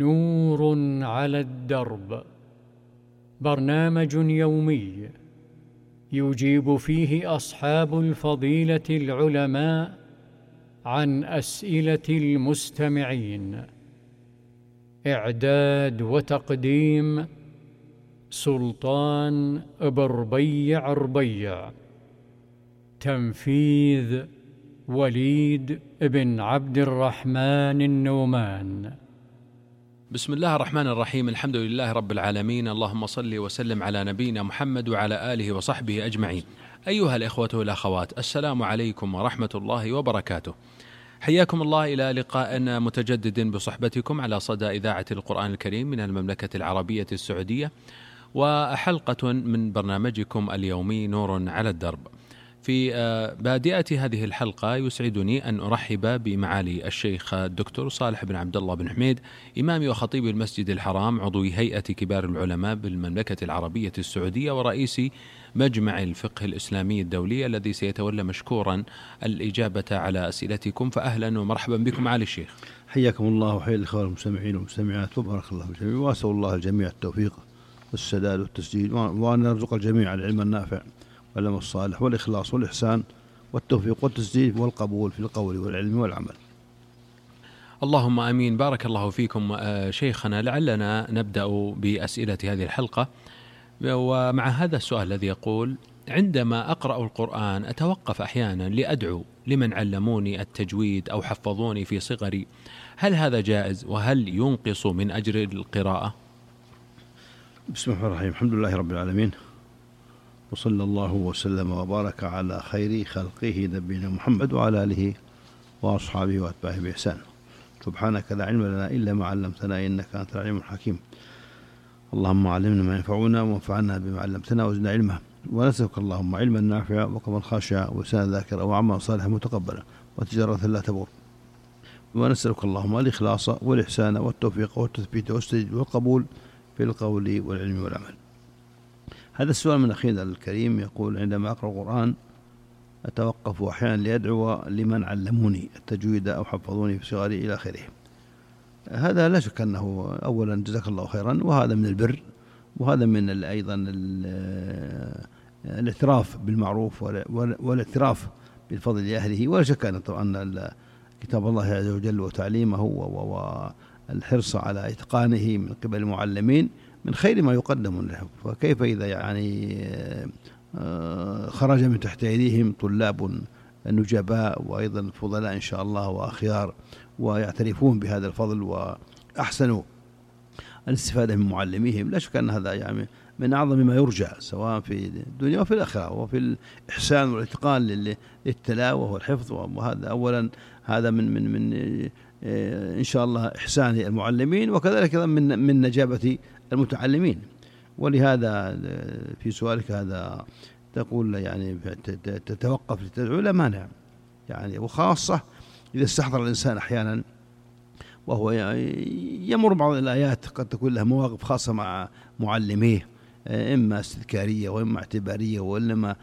نور على الدرب، برنامج يومي يجيب فيه أصحاب الفضيلة العلماء عن أسئلة المستمعين. إعداد وتقديم سلطان بربيع ربيع. تنفيذ وليد بن عبد الرحمن النومان. بسم الله الرحمن الرحيم. الحمد لله رب العالمين، اللهم صل وسلم على نبينا محمد وعلى آله وصحبه أجمعين. أيها الإخوة والأخوات، السلام عليكم ورحمة الله وبركاته. حياكم الله إلى لقاء متجدد بصحبتكم على صدى إذاعة القرآن الكريم من المملكة العربية السعودية، وحلقة من برنامجكم اليومي نور على الدرب. في بادئة هذه الحلقة يسعدني أن أرحب بمعالي الشيخ الدكتور صالح بن عبد الله بن حميد، إمام وخطيب المسجد الحرام، عضو هيئة كبار العلماء بالمملكة العربية السعودية، ورئيس مجمع الفقه الإسلامي الدولي، الذي سيتولى مشكورا الإجابة على أسئلتكم. فأهلا ومرحبا بكم معالي الشيخ. حياكم الله وحيا الإخوة المستمعين والمستمعات، وبارك الله بالجميع، وأسأل الله الجميع التوفيق والسداد والتسديد، وأن يرزق الجميع العلم النافع والعمل الصالح والإخلاص والإحسان والتوفيق والتسديد والقبول في القول والعلم والعمل. اللهم آمين. بارك الله فيكم شيخنا. لعلنا نبدأ بأسئلة هذه الحلقة، ومع هذا السؤال الذي يقول: عندما أقرأ القرآن أتوقف أحيانا لأدعو لمن علموني التجويد أو حفظوني في صغري، هل هذا جائز؟ وهل ينقص من أجر القراءة؟ بسم الله الرحمن الرحيم. الحمد لله رب العالمين، وصلى الله وسلم وبارك على خير خلقه نبينا محمد وعلى آله وأصحابه وأتباعه بإحسان. سبحانك لا علم لنا إلا ما علمتنا إنك أنت العليم الحكيم. اللهم علمنا ما ينفعنا وانفعنا بما علمتنا وزدنا علما، ونسألك اللهم علما نافعا وقلبا خاشعا ولسانا ذاكرا وعملا صالحا متقبلا وتجارة لا تبور، ونسألك اللهم الإخلاص والإحسان والتوفيق والتثبيت والتسديد والقبول في القول والعلم والعمل. هذا السؤال من أخينا الكريم يقول: عندما أقرأ القرآن أتوقف أحيانا لأدعو لمن علموني التجويد أو حفظوني في صغري إلى آخره. هذا لا شك أنه أولا جزاك الله خيرا، وهذا من البر، وهذا من أيضا الاعتراف بالمعروف والاعتراف بالفضل لأهله. ولا شك أن كتاب الله عز وجل وتعليمه والحرص على إتقانه من قبل المعلمين من خير ما يقدم له، فكيف إذا خرج من تحت أيديهم طلاب نجباء وأيضا فضلاء إن شاء الله وأخيار، ويعترفون بهذا الفضل وأحسنوا الاستفادة من معلميهم. لا شك أن هذا من أعظم ما يرجى، سواء في الدنيا وفي الآخرة، وفي الإحسان والإتقان للتلاوة والحفظ. وهذا أولا هذا من إن شاء الله إحسان المعلمين، وكذلك من نجابة المتعلمين. ولهذا في سؤالك هذا تقول تتوقف لتدعو، لا مانع، وخاصة إذا استحضر الإنسان أحيانا وهو يمر بعض الآيات قد تكون لها مواقف خاصة مع معلميه، إما استذكارية وإما اعتبارية، وإنما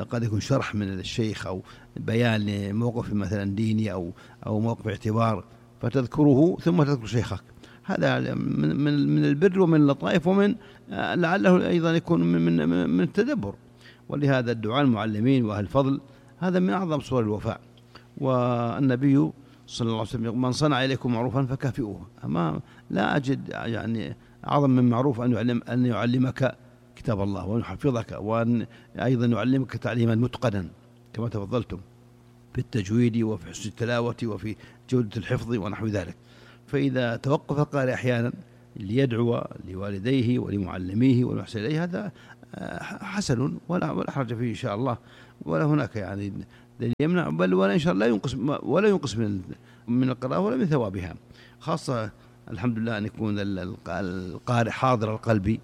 قد يكون شرح من الشيخ أو بيان لموقف مثلا ديني أو موقف اعتبار، فتذكره ثم تذكر شيخك. هذا من البر ومن اللطائف، ومن لعله أيضا يكون من التدبر. ولهذا الدعاء المعلمين وأهل الفضل هذا من أعظم صور الوفاء. والنبي صلى الله عليه وسلم: من صنع إليكم معروفا فكافئوه. لا أجد أعظم من معروف أن يعلمك كتاب الله وأن يحفظك، وأن أيضا يعلمك تعليما متقنا كما تفضلتم في التجويد وفي حسن التلاوة وفي جودة الحفظ ونحو ذلك. فإذا توقف القارئ أحيانا ليدعو لوالديه ولمعلميه والمحسن إليه، هذا حسن ولا حرج فيه إن شاء الله، ولا هناك دليل يمنع، بل ولا إن شاء الله ولا ينقص من القراءة ولا من ثوابها. خاصة الحمد لله أن يكون القارئ حاضر القلب،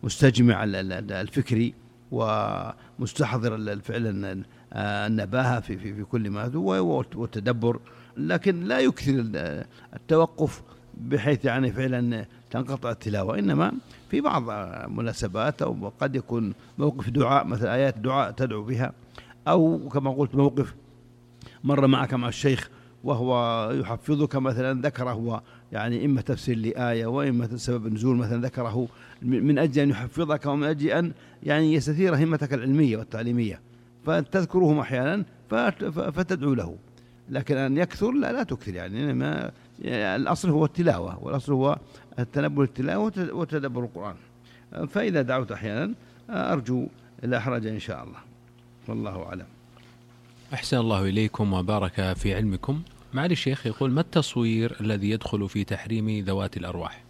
مستجمع الفكري ومستحضر فعلا النباهة في كل ما هو والتدبر، لكن لا يكثر التوقف بحيث فعلا تنقطع التلاوة، إنما في بعض مناسبات، أو قد يكون موقف دعاء، مثل آيات دعاء تدعو بها، أو كما قلت موقف مر معك مع الشيخ وهو يحفظك مثلا ذكره يعني إما تفسير لآية وإما سبب النزول مثلا ذكره من أجل أن يحفظك ومن أجل أن يعني يستثير همتك العلمية والتعليمية، فتذكرهم أحيانا فتدعو له. لكن أن يكثر لا تكثر، يعني الأصل هو التلاوة، والأصل هو التنبه التلاوة وتدبر القرآن. فإذا دعوت أحيانا أرجو لا حرج إن شاء الله، والله أعلم. أحسن الله إليكم وبارك في علمكم. معالي الشيخ يقول: ما التصوير الذي يدخل في تحريم ذوات الأرواح؟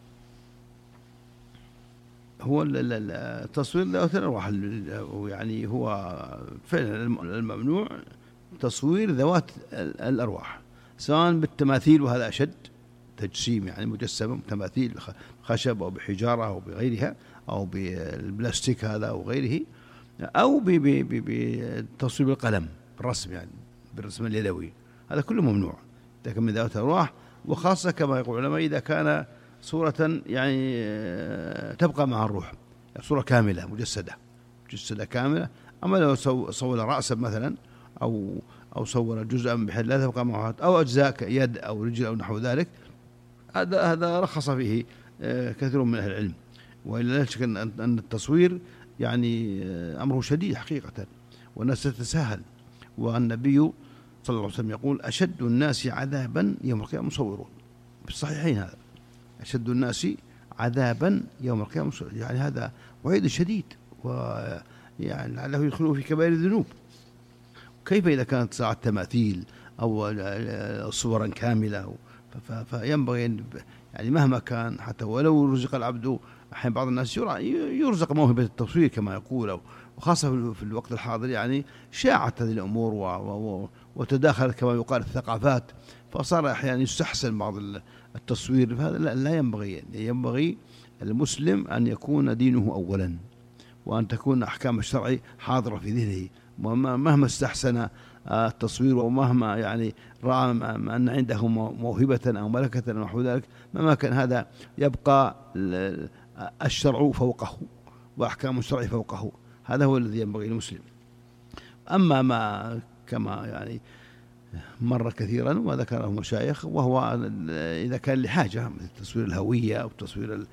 هو التصوير ذوات الأرواح، يعني هو فعلا الممنوع تصوير ذوات الأرواح، سواء بالتماثيل وهذا أشد، تجسيم يعني مجسمة تماثيل خشب أو بحجارة أو بغيرها أو بالبلاستيك هذا أو غيره، أو بتصوير بالقلم بالرسم، يعني بالرسم اليدوي، هذا كله ممنوع. لكن من ذوات الأرواح، وخاصة كما يقول العلماء إذا كان صورة يعني تبقى مع الروح، صورة كاملة مجسدة كاملة. أما لو صور رأسا مثلا أو صور جزءا بحيث لا تبقى معه، أو أجزاء يد أو رجل أو نحو ذلك، هذا رخص فيه كثير من أهل العلم. وإلا لا شك أن التصوير يعني أمره شديد حقيقة، والناس تتساهل. والنبي صلى الله عليه وسلم يقول: أشد الناس عذابا يوم القيامة مصورون، في الصحيحين هذا، أشد الناس عذابا يوم القيامة، يعني هذا وعيد شديد، ويعني لعله يدخلوا في كبائر الذنوب. كيف إذا كانت ساعة تماثيل أو صورا كاملة؟ فينبغي يعني مهما كان، حتى ولو رزق العبد، أحيانا بعض الناس يرزق موهبة التصوير كما يقول، وخاصة في الوقت الحاضر يعني شاعت هذه الأمور وتداخلت كما يقال الثقافات، فصار أحيانا يستحسن بعض التصوير. فهذا لا ينبغي المسلم أن يكون دينه أولا، وأن تكون أحكام الشرع حاضرة في ذهنه، مهما استحسن التصوير ومهما يعني رأى أن عنده موهبة أو ملكة أو نحو ذلك، مهما كان هذا يبقى الشرع فوقه وأحكام الشرع فوقه. هذا هو الذي ينبغي للمسلم. أما ما كما يعني مر كثيرا وذكره المشايخ، وهو إذا كان لحاجة مثل تصوير الهوية أو تصوير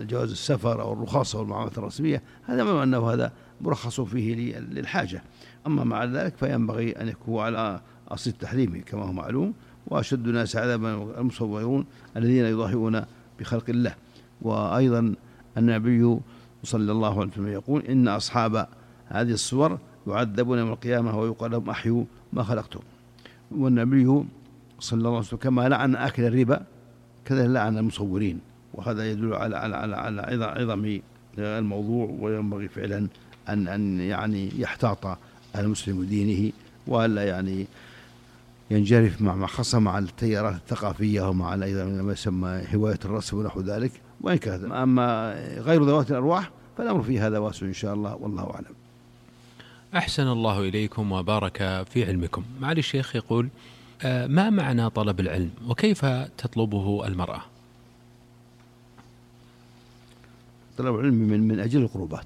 جواز السفر أو الرخصة والمعاملات الرسمية، هذا ما أنه هذا مرخص فيه للحاجة. أما مع ذلك فينبغي أن يكون على أصل التحريم كما هو معلوم. وأشد الناس عذابا المصورون الذين يضاهئون بخلق الله. وأيضا النبي صلى الله عليه وسلم يقول: إن أصحاب هذه الصور يعذبون يوم القيامة ويقال لهم: أحيوا ما خلقتم. والنبي صلى الله عليه وسلم كما لعن آكل الربا كذا لعن المصورين، وهذا يدل على عظم الموضوع. وينبغي فعلا أن يعني يحتاط المسلم دينه، وألا يعني ينجرف مع خاصة مع التيارات الثقافية ومع أيضا ما يسمى هواية الرسم ونحو ذلك. وإن كان أما غير ذوات الأرواح فالأمر في هذا واسع إن شاء الله، والله أعلم. أحسن الله إليكم وبارك في علمكم. معالي الشيخ يقول: ما معنى طلب العلم وكيف تطلبه المرأة؟ طلب العلم من أجل القربات،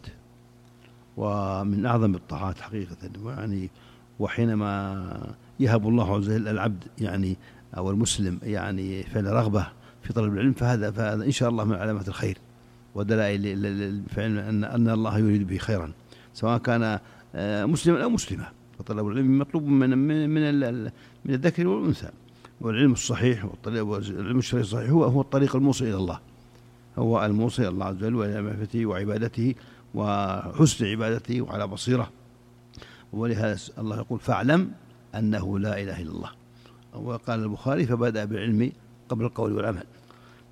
ومن أعظم الطاعات حقيقة، يعني وحينما يهب الله عز وجل العبد يعني أو المسلم يعني فعل رغبة في طلب العلم، فهذا إن شاء الله من علامات الخير ودلائل فعل أن الله يريد به خيرا، سواء كان مسلما أو مسلمة. فطلب العلم مطلوب من الذكر والأنثى. والعلم الصحيح والعلم الشرعي الصحيح هو الطريق الموصل إلى الله، هو الموصل إلى الله عز وجل وإلى معرفته وعبادته وحسن عبادته وعلى بصيرة. ولهذا الله يقول: فاعلم أنه لا إله إلا الله. وقال البخاري: فبدأ بالعلم قبل القول والعمل.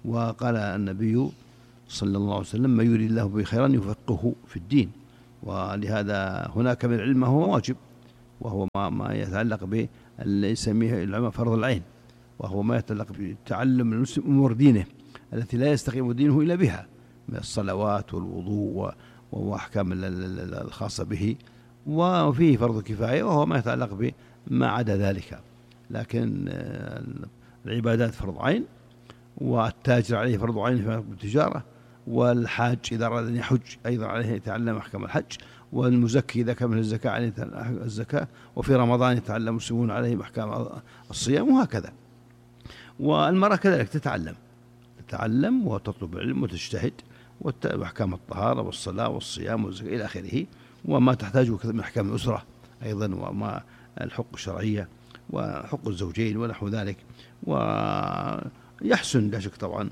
وقال النبي صلى الله عليه وسلم: ما يريد الله به خيرا يفقهه في الدين. ولهذا هناك من العلم هو واجب، وهو ما يتعلق به اللي يسميه العلماء فرض العين، وهو ما يتعلق بتعلم المسلم أمور دينه التي لا يستقيم دينه إلا بها من الصلوات والوضوء وأحكام الخاصة به. وفيه فرض كفاية وهو ما يتعلق بما عدا ذلك. لكن العبادات فرض عين، والتاجر عليه فرض عين في التجارة، والحاج إذا أراد أن يحج أيضا عليه يتعلم أحكام الحج، والمزكي إذا كمل الزكاة عليه الزكاة، وفي رمضان يتعلم المسلمون عليه أحكام الصيام، وهكذا. والمرأة كذلك تتعلم وتطلب العلم وتجتهد وأحكام الطهارة والصلاة والصيام والزكاة إلى آخره، وما تحتاجه من أحكام الأسرة أيضا، وما الحقوق الشرعية وحقوق الزوجين ونحو ذلك. ويحسن لا شك طبعا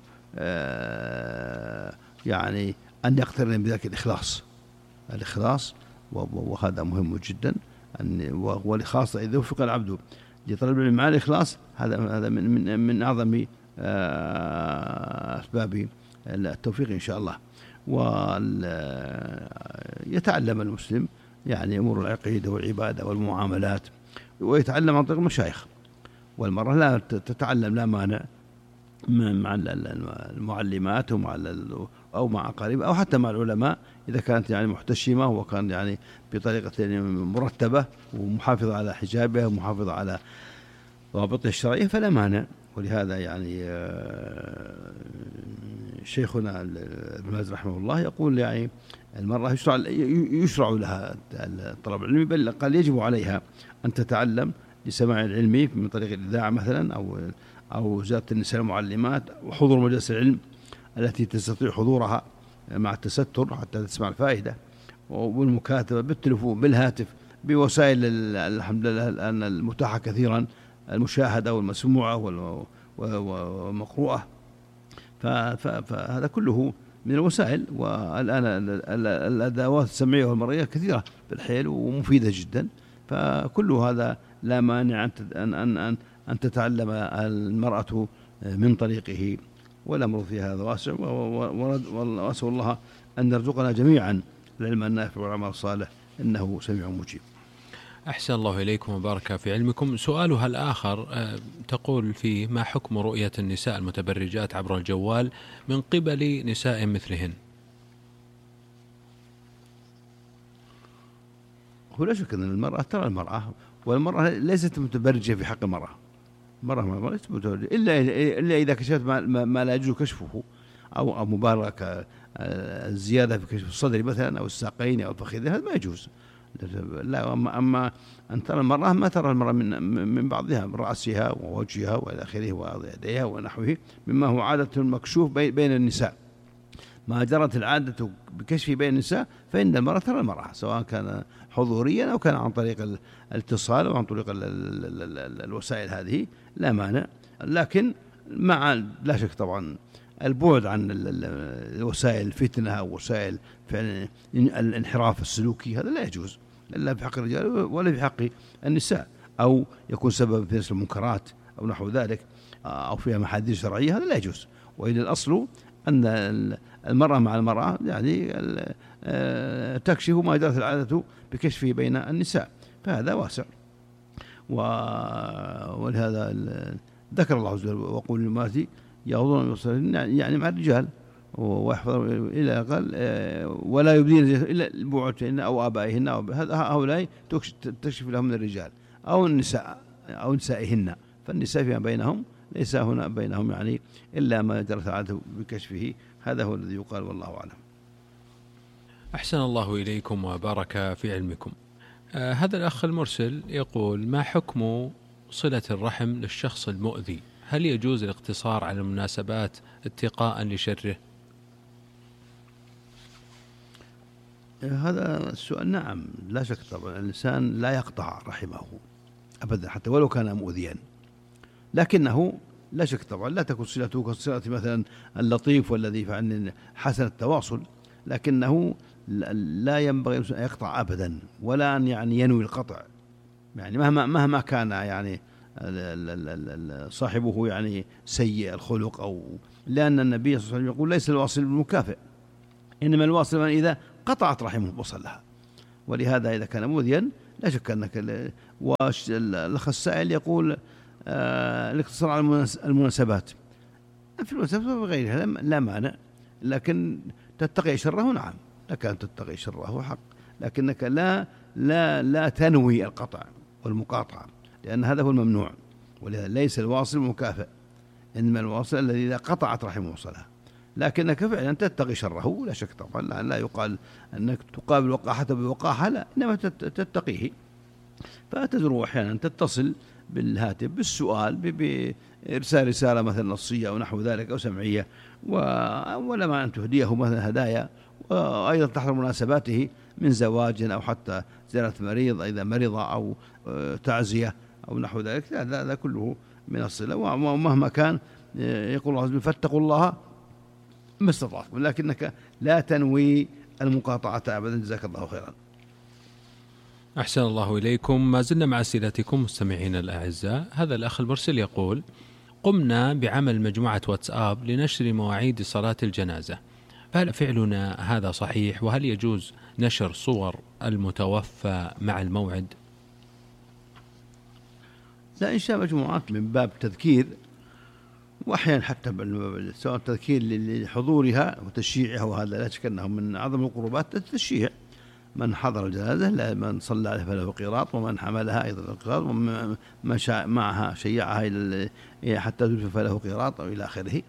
يعني أن يقترن بذلك الإخلاص، وهذا مهم جدا. والإخلاص إذا وفق العبد لطلب العلم مع الإخلاص، هذا من أعظم أسباب التوفيق إن شاء الله. ويتعلم المسلم يعني أمور العقيدة والعبادة والمعاملات، ويتعلم عن طريق المشايخ. والمرأة لا تتعلم لا مانع مع المعلمات أو مع أقاربها أو حتى مع العلماء، إذا كانت يعني محتشمة وكان يعني بطريقة مرتبة ومحافظة على حجابها ومحافظة على ضوابطها الشرعية فلا مانع. ولهذا يعني شيخنا ابن باز رحمه الله يقول يعني المرأة يشرع لها طلب العلم، بل قال يجب عليها أن تتعلم لسماع العلم من طريق الإذاعة مثلا أو وزارة النساء المعلمات، وحضور مجالس العلم التي تستطيع حضورها مع التستر حتى تسمع الفائدة، والمكاتبة بالتلفون بالهاتف بوسائل الحمد لله الآن المتاحة كثيرا، المشاهدة والمسموعة والمقروءة. فهذا كله من الوسائل. والآن الأدوات السمعية والمرئية كثيرة بالحيل ومفيدة جدا، فكل هذا لا مانع أن تتعلم المرأة من طريقه، والأمر في هذا واسع. وأسأل الله أن يرزقنا جميعا العلم النافع والعمل الصالح، إنه سميع مجيب. أحسن الله إليكم وبارك في علمكم. سؤالها الآخر تقول فيه: ما حكم رؤية النساء المتبرجات عبر الجوال من قبل نساء مثلهن؟ هو لا شك أن المرأة ترى المرأة، والمرأة ليست متبرجة في حق المرأة. المرأة ليست متبرجة إلا إذا كشفت ما لا يجوز كشفه، أو مبالغة الزيادة في كشف الصدر مثلا أو الساقين أو الفخذين، هذا ما يجوز. لا، أما أن ترى المرأة ما ترى المرأة من بعضها، من رأسها ووجهها وإلى آخره ويديها ونحوه، مما هو عادة مكشوف بين النساء. ما جرت العادة بكشف بين النساء فإن المرأة ترى المرأة، سواء كان حضوريا أو كان عن طريق الاتصال أو عن طريق الوسائل هذه، لا مانع. لكن مع لا شك طبعا البعد عن الوسائل الفتنة أو وسائل الانحراف السلوكي، هذا لا يجوز لا في حق الرجال ولا في حق النساء، أو يكون سبب في نشر المنكرات أو نحو ذلك، أو فيها محاذير شرعية، هذا لا يجوز. وإن الأصل أن المرأة مع المرأة يعني تكشف ما جرت العادة بكشفه بين النساء، فهذا واسع. ولهذا ذكر الله عز وجل: وقول للمرأة يغضن من أبصارهن، يعني مع الرجال، ويحفظ إلى قال ولا يبدين إلا لبعولتهن أو آبائهن، هؤلاء تكشف لهم من الرجال أو النساء أو نسائهن، فالنساء فيما بينهم ليس هنا بينهم يعني إلا ما جرت العادة بكشفه، هذا هو الذي يقال، والله أعلم. أحسن الله إليكم وبارك في علمكم. هذا الأخ المرسل يقول: ما حكم صلة الرحم للشخص المؤذي؟ هل يجوز الاقتصار على المناسبات اتقاء لشره؟ هذا السؤال نعم، لا شك طبعا الإنسان لا يقطع رحمه أبدا حتى ولو كان مؤذيا، لكنه لا شك طبعا لا تكون صلته كصلة مثلا اللطيف والذي فعل حسن التواصل، لكنه لا ينبغي أن يقطع أبدا، ولا أن يعني ينوي القطع، يعني مهما كان يعني صاحبه يعني سيء الخلق، أو لأن النبي صلى الله عليه وسلم يقول: ليس الواصل بالمكافئ، إنما الواصل من إذا قطعت رحمه وصلها. ولهذا إذا كان مؤذيا لا شك أنك. والأخ السائل يقول: الاقتصار على المناسبات، في المناسبات وغيرها لا مانع، لكن تتقي شره، نعم لك أن تتقي شره حق، لكنك لا تنوي القطع والمقاطعة، لأن هذا هو الممنوع. ولهذا ليس الواصل مكافئ، إنما الواصل الذي إذا قطعت رحمه وصلها، لكنك فعلا تتقي شره، لا شك طبعا، لا يقال أنك تقابل وقاحة بوقاحة، لا، إنما تتقيه. فتزور أحيانا تتصل بالهاتف بالسؤال، بإرسال رسالة مثلا نصية أو نحو ذلك أو سمعية، ولا ما أن تهديه مثلا هدايا، وأيضا تحت مناسباته من زواج أو حتى زيارة مريض إذا مرض أو تعزية أو نحو ذلك، هذا كله من الصلة. ومهما كان يقول الله فاتقوا الله ما استطعتم، لكنك لا تنوي المقاطعة أبدا. جزاك الله خيرا. أحسن الله إليكم. ما زلنا مع أسئلتكم مستمعين الأعزاء. هذا الأخ المرسل يقول: قمنا بعمل مجموعة واتساب لنشر مواعيد صلاة الجنازة، فهل فعلنا هذا صحيح؟ وهل يجوز نشر صور المتوفى مع الموعد؟ لا، إنشاء مجموعات من باب تذكير، وأحيانا حتى سواء تذكير لحضورها وتشييعها، وهذا لا شك أنه من أعظم القربات التشييع. من حضر الجنازة من صلى عليها فله قيراط، ومن حملها أيضا قيراط، ومن معها شيعها حتى تدفن فله قيراط أو إلى آخره.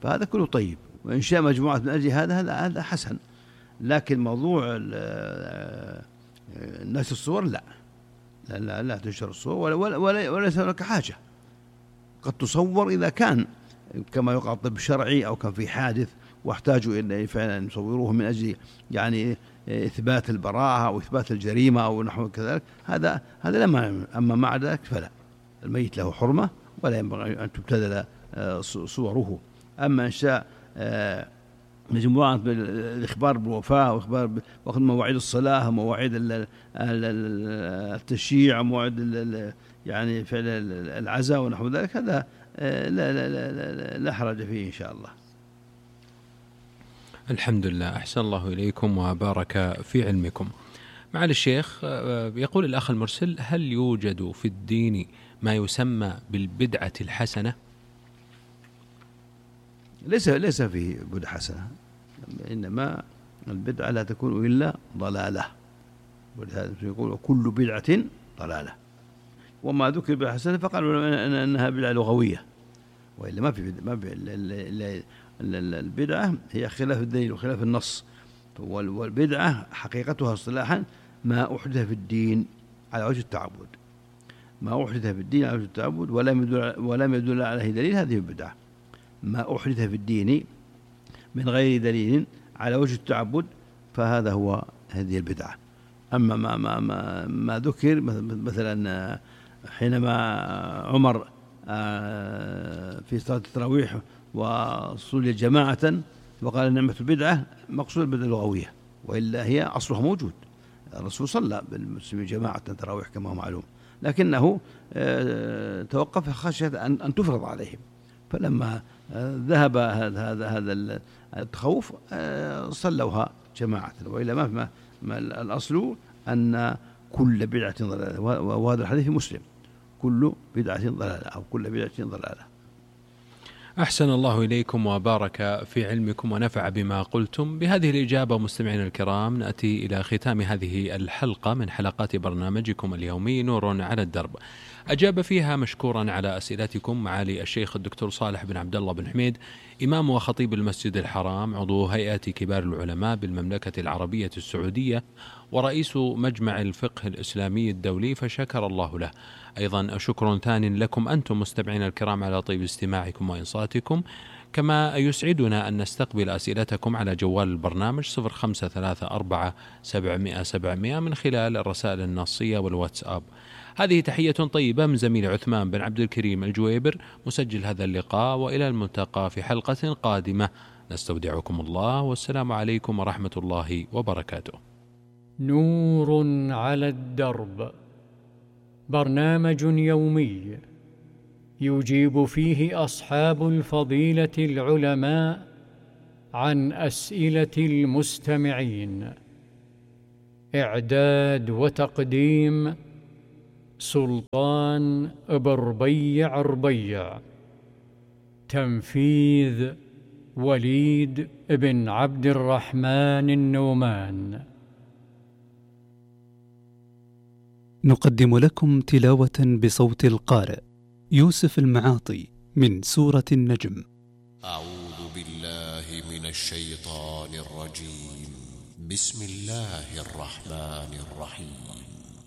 فهذا كله طيب، وإنشاء مجموعة من أجل هذا حسن. لكن موضوع نشر الصور لا تنشر الصور، وليس هناك حاجة. قد تصور إذا كان كما يقال طب شرعي أو كان في حادث واحتاجوا إلى فعلا يصوروه من أجل يعني إثبات البراءة أو إثبات الجريمة أو نحو كذلك، هذا لا مانع. أما مع ذلك فلا، الميت له حرمة ولا ينبغي أن تبتذل صوره. أما إنشاء مجموعة الإخبار بالوفاة وإخبار وقت مواعيد الصلاة ومواعيد التشييع ومواعيد يعني فعل العزاء ونحو ذلك، هذا لا حرج فيه إن شاء الله. الحمد لله. أحسن الله إليكم وبارك في علمكم. معالي الشيخ، يقول الأخ المرسل: هل يوجد في الدين ما يسمى بالبدعة الحسنة؟ ليس فيه بدعة حسنة، إنما البدعة لا تكون إلا ضلالة، ولهذا يقول كل بدعة ضلالة. وما ذكر بدعة حسنة فقالوا أنها بدعة لغوية، وإلا ما في البدعة هي خلاف الدليل وخلاف النص. والبدعة حقيقتها اصطلاحا ما أحدث في الدين على وجه التعبد، ما أحدث في الدين على وجه التعبد ولم يدل عليه دليل، هذه البدعة. ما أحدث في الدين من غير دليل على وجه التعبد فهذا هو هذه البدعة. أما ما ذكر مثلا حينما عمر في صلاة التراويح وصلي جماعة وقال نعمة البدعة، مقصود البدعة اللغوية، وإلا هي أصلها موجود. الرسول صلى بالمسلمين جماعة تراويح كما هو معلوم، لكنه توقف خشية أن تفرض عليهم، فلما ذهب هذا التخوف صلوها جماعة، وإلا ما الأصل أن كل بدعة ضلالة، وهذا الحديث مسلم: كل بدعة ضلالة أو كل بدعة ضلالة. أحسن الله إليكم وبارك في علمكم ونفع بما قلتم. بهذه الإجابة مستمعينا الكرام نأتي إلى ختام هذه الحلقة من حلقات برنامجكم اليومي نور على الدرب. أجاب فيها مشكورا على أسئلتكم معالي الشيخ الدكتور صالح بن عبد الله بن حميد، إمام وخطيب المسجد الحرام، عضو هيئة كبار العلماء بالمملكة العربية السعودية ورئيس مجمع الفقه الإسلامي الدولي، فشكر الله له. أيضا شكر ثان لكم أنتم مستمعين الكرام على طيب استماعكم وإنصاتكم، كما يسعدنا أن نستقبل أسئلتكم على جوال البرنامج 0534 من خلال الرسائل النصية والواتساب. هذه تحية طيبة من زميل عثمان بن عبد الكريم الجويبر مسجل هذا اللقاء، وإلى الملتقى في حلقة قادمة. نستودعكم الله، والسلام عليكم ورحمة الله وبركاته. نور على الدرب، برنامج يومي يجيب فيه أصحاب الفضيلة العلماء عن أسئلة المستمعين. إعداد وتقديم سلطان بربيع. تنفيذ وليد بن عبد الرحمن النومان. نقدم لكم تلاوة بصوت القارئ يوسف المعاطي من سورة النجم. أعوذ بالله من الشيطان الرجيم. بسم الله الرحمن الرحيم.